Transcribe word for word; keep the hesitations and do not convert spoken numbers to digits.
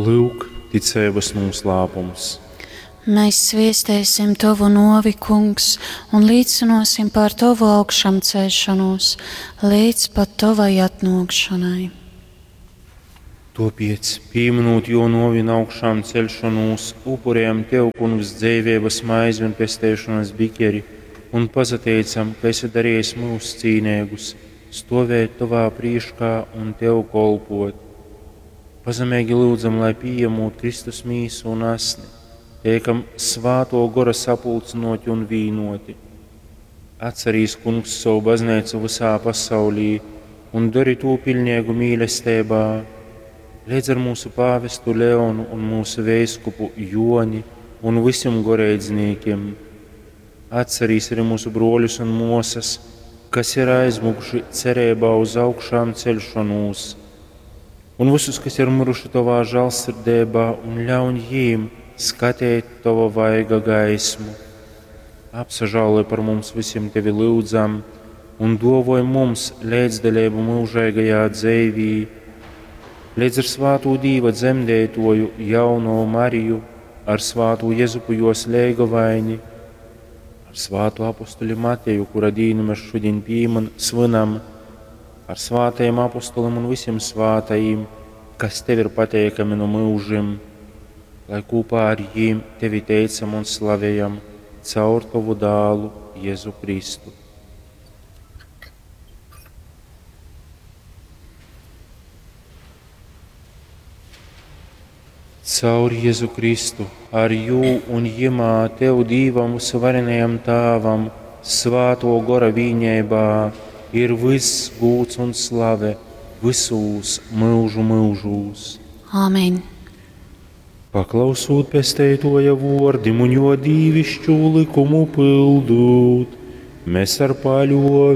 Lyuk, ticeibys nūslāpums. Mēs sviestēsim Tovu novi, Kungs, un līcinosim par Tovu augšamceļšanos līdz pat Tovai atnākšanai. Topiec, pīminūt jo novi un augšām celšanos, upurējam Tev, Kungs, dzeiveibas maizi un pesteišanas bikeri, un pasateicam, ka esi darījis mūs cīnēgus, stovēt Tovā prīškā un Tev kolpot. Pazemeigi lūdzam, lai pieņemot Kristus mīsu un asni, teikam svāto gora sapulcinoti un vīnoti. Atcerīs, Kungs, savu baznīcu visā pasaulī un dari to pilnīgu mīlestībā, līdz ar mūsu pāvestu Leonu un mūsu veiskupu Joni un visiem goreidznīkiem. Atcerīs arī mūsu broļus un mosas, kas ir aizmukuši cerībā uz augšām celšanos, un visus, kas ir miruši Tavā žēlsirdībā, un ļauj jīm skatīt Tava vaiga gaismu. Apsažāloj par mums visiem Tevi lūdzam, un dovoj mums līdzdalību mūžīgajā dzīvī, līdz ar svāto Dīva dzemdētoju jauno Mariju, ar svāto Jezupu jos leigavaini, ar svāto apustuļu Mateju, kura dīnu mēs šodien pīman, svinam, ar svātajiem apustulim un visiem svātajiem, kas Tev ir pateikami no mūžiem, lai kopā ar jīm Tevi teicam un slavējam caur Tavu dālu Jēzu Kristu. Caur Jēzu Kristu, ar jū un jimā Tev Dīvam visvarenajam Tāvam, svāto gora vīņēbā, ir viss gūts un slave visūs mūžu mūžūs. Āmen! Paklausūt pesteitoja vordim un jo dīvišķu likumu pildūt, mēs ar paļovi